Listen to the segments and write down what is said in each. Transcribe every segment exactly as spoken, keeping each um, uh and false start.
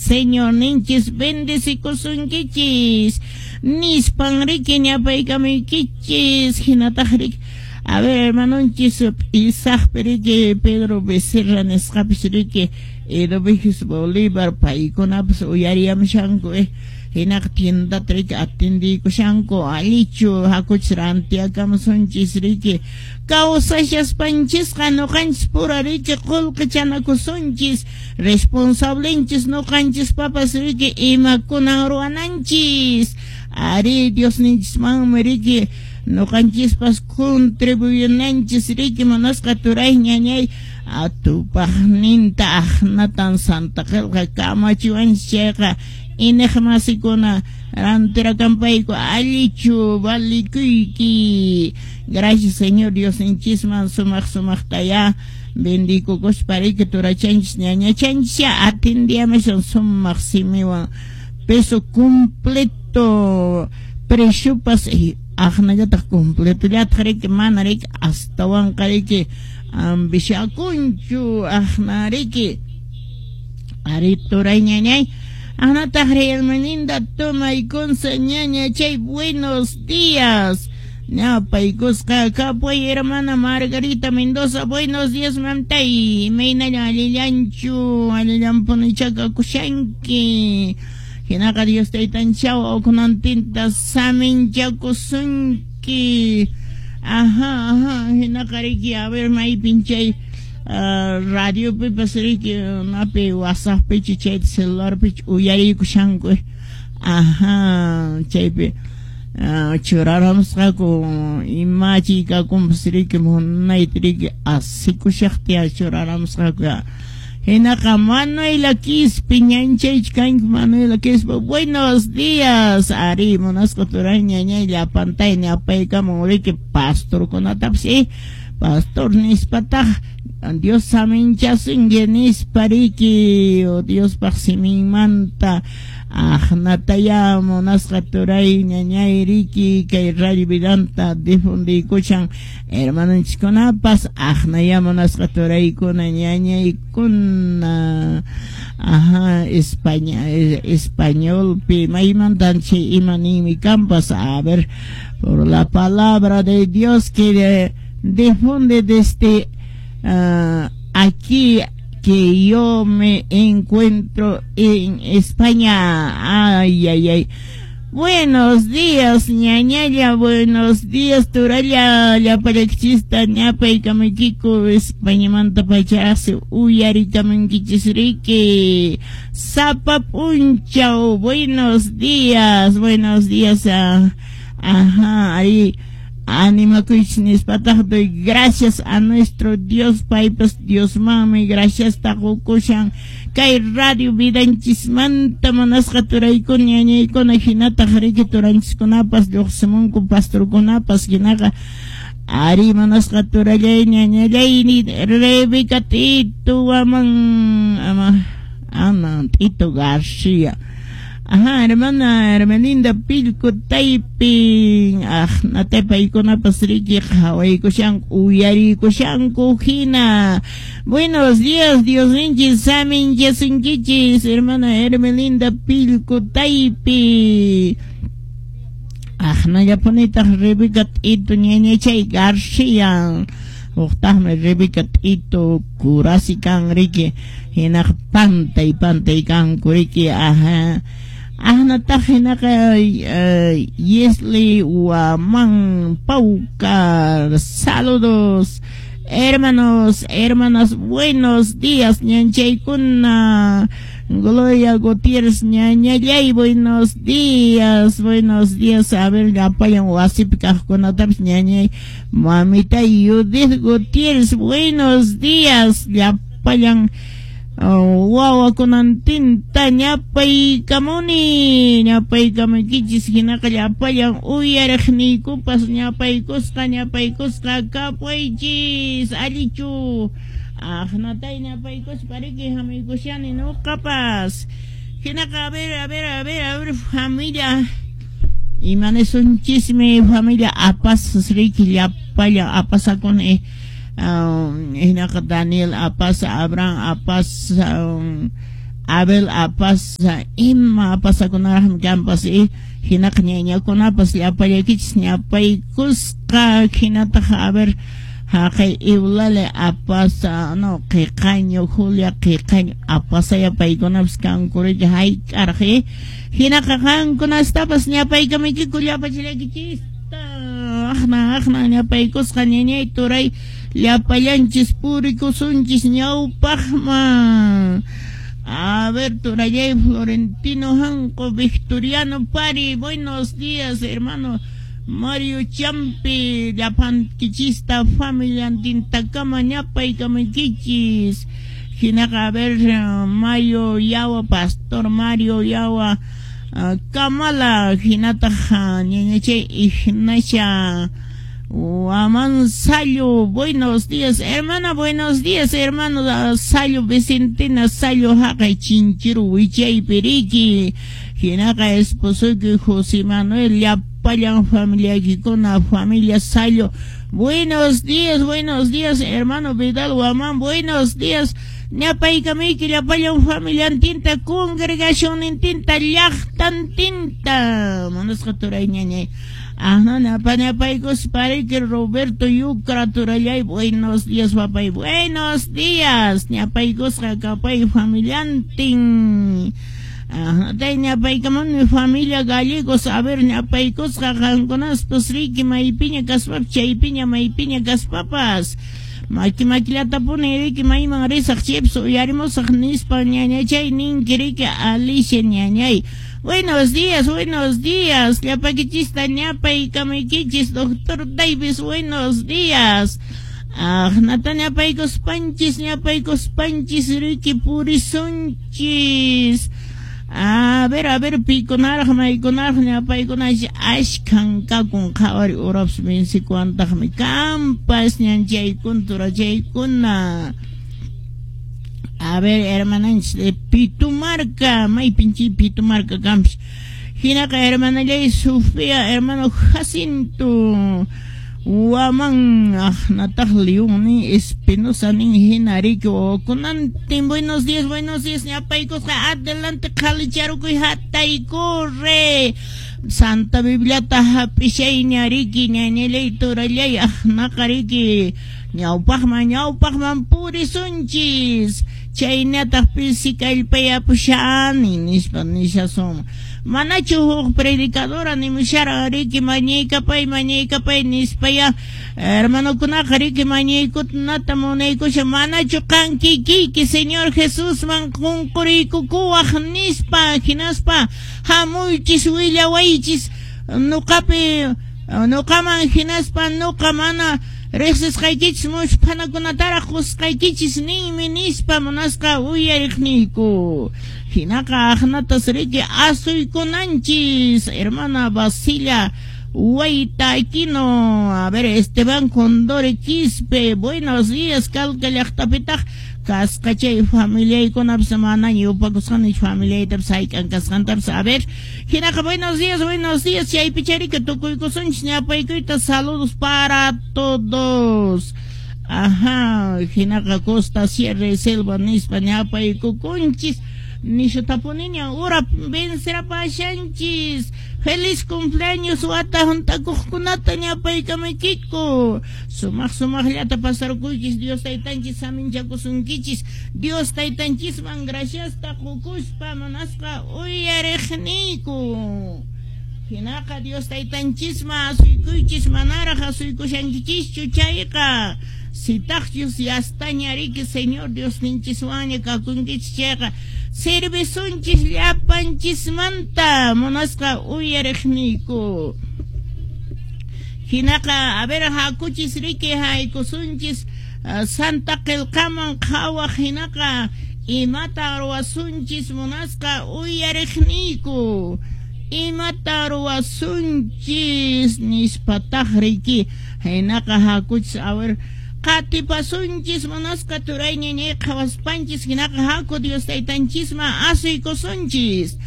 Señorninchis bendecikusunkichis nispan riki ñapaykamuykichis. Hinataq riki, a ver, hermanonchis Isaac riki, Pedro Becerra nisqapis riki, Edovigis Bolívar paykunapas uyariyamushanku eh. Hinaqa tiendata riki atendiykushanku, allichu hakuchis rantiakamusunchis riki. Kawsashaspanchisqa nuqanchis pura riki qullqichanakusunchis, responsablenchis nuqanchis papas riki imakunan ruwananchis. Ari Diosninchismanmi riki nuqanchispas contribuyunanchis riki munasqa turay ñañay atupaqninta aqnatan Santa Qillqa kamachiwanchis chayqa iñiqmasikuna rantirakanpayku allichu valikuyki. Gracias Señor Diosninchisman sumaq sumaqtaya bendikukuspa riki turachanchis ñañachanchis atendiyamashun sumaq simiwan peso completo preciopas aqnallataq completollataq riki mana riki astawanqa riki ambishakunchu aqna riki ari turay ñañay. Anataq Hermelinda tomaykunsa ñaña chay buenos días. Ñapaykusqa kapuy hermana Margarita Mendoza, buenos días mamtay. Imaynalla allillanchu, allillanpunicha kakushanki. Hinaqa Dios taytanchaw ukunantinta saminchakusunki. Ajá, ajá, hinaqa riki, a ver maypin chay Uh, radio pipas riki napi WhatsApp pichi chay celular pichi uyariykushanku. Ajá, chaypi uh, churaramusqaku imachi kakunpas riki munayta riki asikushaqtiya churaramusqaku. Hinaqa Manuela Quispe ñanchaychu kanki Manuela Quispe, buenos días. Ari munasqa turay ñañay llapantay ñapaykamun riki pastorkunatapas eh pastor nispataq Dios saminchasunki nispa riki o Diospaq siminmanta aqnataya munasqa turay ñañay riki kay Radio Vidanta difundiykushan hermanonchiskunapas aqnaya munasqa turaykuna ñañaykuna. Ajá, España, españolpi maymantan chay ima ninmi kanpas. A ver, por la palabra de Dios que de, difunde desde Uh, aquí que yo me encuentro en España. Ay, ay, ay. Buenos días, ñañaya, buenos días, turalla, llapalakchista, ñapaykamaykiku, Españamanta pacharase, uyarikamankichis riki. Sapa punchaw, buenos días, buenos días, uh, ajá, ahí. Animakuychis nispataq doy gracias a nuestro Dios paypas Diosmanmi gracias taqukushan kay radio vidanchismanta munasqa turaykuna ñañaykuna hinataq riki turanchiskunapas lluqsimunku pastorkunapas hinaqa ari munasqa turallay ñañallay Rebeca Tito Waman ama ana Tito García. Ajá, hermana Hermelinda Pilco Taiping. Ah, natepaykunapas riki qhawaykushanku uyarikushanku hina. Buenos días, Diosninchis saminchasunkichis, hermana Hermelinda Pilco Taipi. Aqnallapunitaq Rebeca Tito ñañachay García. Uqtaqmi Rebeca Tito Curasi kan riki hinaq pantay pantay kanku riki. Ajá. Ahnataq hinaqa Yesli Huamán Paucar. Saludos, hermanos, hermanas, buenos días, ñanchaykuna. Gloria Gutiérrez, ñañallay, buenos días, buenos días. A ver, llapallan wasipi kaqkunatapis ñañay, mamita Judith Gutiérrez, buenos días, llapallan wawakunantinta ñapaykamuni, ñapaykamaykichis hinaqa llapallan uyariqniykupas ñapaykusqa ñapaykusqa kapuychis allichu. Aqnatay ñapaykuspa riki hamuykushani nuqapas. Hinaqa a ver, a ver, a ver, a ver, familia imanisunchismi familia apas riki llapallan apasakuni. Um, hinaqa Daniel apas, Abraham apas, um, Abel Apaza ima apasakunaraqmi kanpas y hinaqa ñañakunapas llapallaykichis ñapaykusqa hinataq a ver haqay Eulalia Apaza no qiqaño Julia qiqaño Apazaya paykunapas kankuriki hayk'araq hinaqa qankunastapas ñapaykamaykiku llapachillaykichista aqna aqna ñapaykusqa ñañay turay llapallanchis purikusunchis ñawpaqman. A ver, turallay Florentino Janco, Victoriano Pari, buenos días, hermano Mario Champi, llapankichista familiantintakama ñapaykamaykichis. Hinaqa, a ver, Mario Yawa, Pastor Mario Yawa, uh, Kamala, hinataq ñañachay Ignacia Huamán Sayo, buenos días, hermana, buenos días, hermano Sayo Vicentina Sayo, haqay Chinchiru wichay piriki, hinaqa esposoyki José Manuel, llapallan familiaykikuna, familia Sayo, buenos días, buenos días, hermano Vidal Huamán, buenos días, ñapaykamayki llapallan familiantinta, congregacionnintinta, llaqtantinta, munasqa turay ñañay. Ajá, ñapaykus pariki Roberto Yucra turallay, buenos días papay, buenos días, ñapaykusqa kapay familiantin. Ajá, tay ñapaykamuni familia Gallegos, a ver ñapaykusqa qankunaspas riki maypiña kaspapas chaypiña maypiña kaspapas. Maki makillatapuni riki mayman risaq chaypas uyarimusaq nispa ñañachay ninki riki Alicia ñañay. Buenos días, buenos días, llapakichista ñapaykamaykichis, doctor Davis, buenos días. Aqnata ñapaykuspanchis, ñapaykuspanchis, riki purisunchis. A ver, a ver, pikunaraq, maykunaraq, ñapaykunash ashkan kakun qhawari urapas vencikuantaqmi kampas ñanchaykuna turachaykuna. A ver, hermananchis de Pitumarca, maypin chay Pitumarca kampas. Hinaqa hermanallay Sofía, hermano Jacinto Huamán, aqnataq León nin Espinosa nin hina riki wawakunantin, buenos días, buenos días, ñapaykusqa adelante qhalicharukuy hataykurre. Santa Bibliata hap'ishayña riki ñañallay turallay aqnaqa riki ñawpaqman ñawpaqman purisunchis chaynataq pisi kallpayapushani nispa nishasun. Manachu huk predicadora nimushara riki mañaykapay mañaykapay nispaya hermanokunaqa riki mañaykunata munaykusha manachu qan kikiyki Señor Jesusman qunquriykukuwaq nispa hinaspa hamuychis willawaychis nuqapi nuqaman hinaspa nuqa mana riqsisqaykichis mushphanakunataraq qusqaykichis ninmi nispa munasqa uyariqniyku. Hinaqa aqnatas riki asuykunanchis hermana Basilia Huayta Aquino, a ver Esteban Condore Quispe, buenos días, Calca llaqtapitaq kasqa chay familiaykunapas manaña yupakusqanich familiaytapas hayk'an kasqantapas, a ver hinaqa buenos días, buenos días, chaypi charika tukuykusunchis ñapaykuyta, saludos para todos. Ajá, hinaqa Costa Sierra y Selva nispa ñapaykukunchis nishutapuniña ura vencerapashanchis. Feliz cumpleaños wata juntakuqkunata ñapaykamaykiku. Sumaq sumaqllata pasarkuychis, Dios taytanchis saminchakusunkichis, Dios taytanchisman graciasta qukuspa munasqa uyariqniyku. Hinaqa Dios taytanchisman asuykuychis manaraq asuykushankichischu chayqa. Sitaqchus yastaña riki Señor Dios ninchiswanña kakunkichis chayqa servisunchis llapanchismanta munasqa uyariqniyku. Hinaqa a ver hakuchis riki haykusunchis uh, Santa Qillqaman qhawaq hinaqa imata ruwasunchis munasqa uyariqniyku. Imata ruwasunchis nispataq riki hinaqa hakuchis a ver qatipasunchis munasqa turay ñañay qhawaspanchis hinaqa haku Dios taytanchisman asuykusunchis.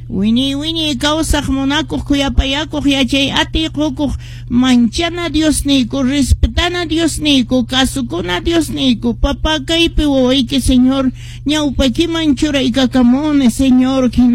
Wiñay wiñay kawsaq munakuq khuyapayakuq yachay atiy qukuq manchana Diosniyku respetasqa Respetana Diosniyku, kasukuna Diosniyku, papá kaypi wawayki, Señor, ñawpaykiman churaykakamuni, Señor.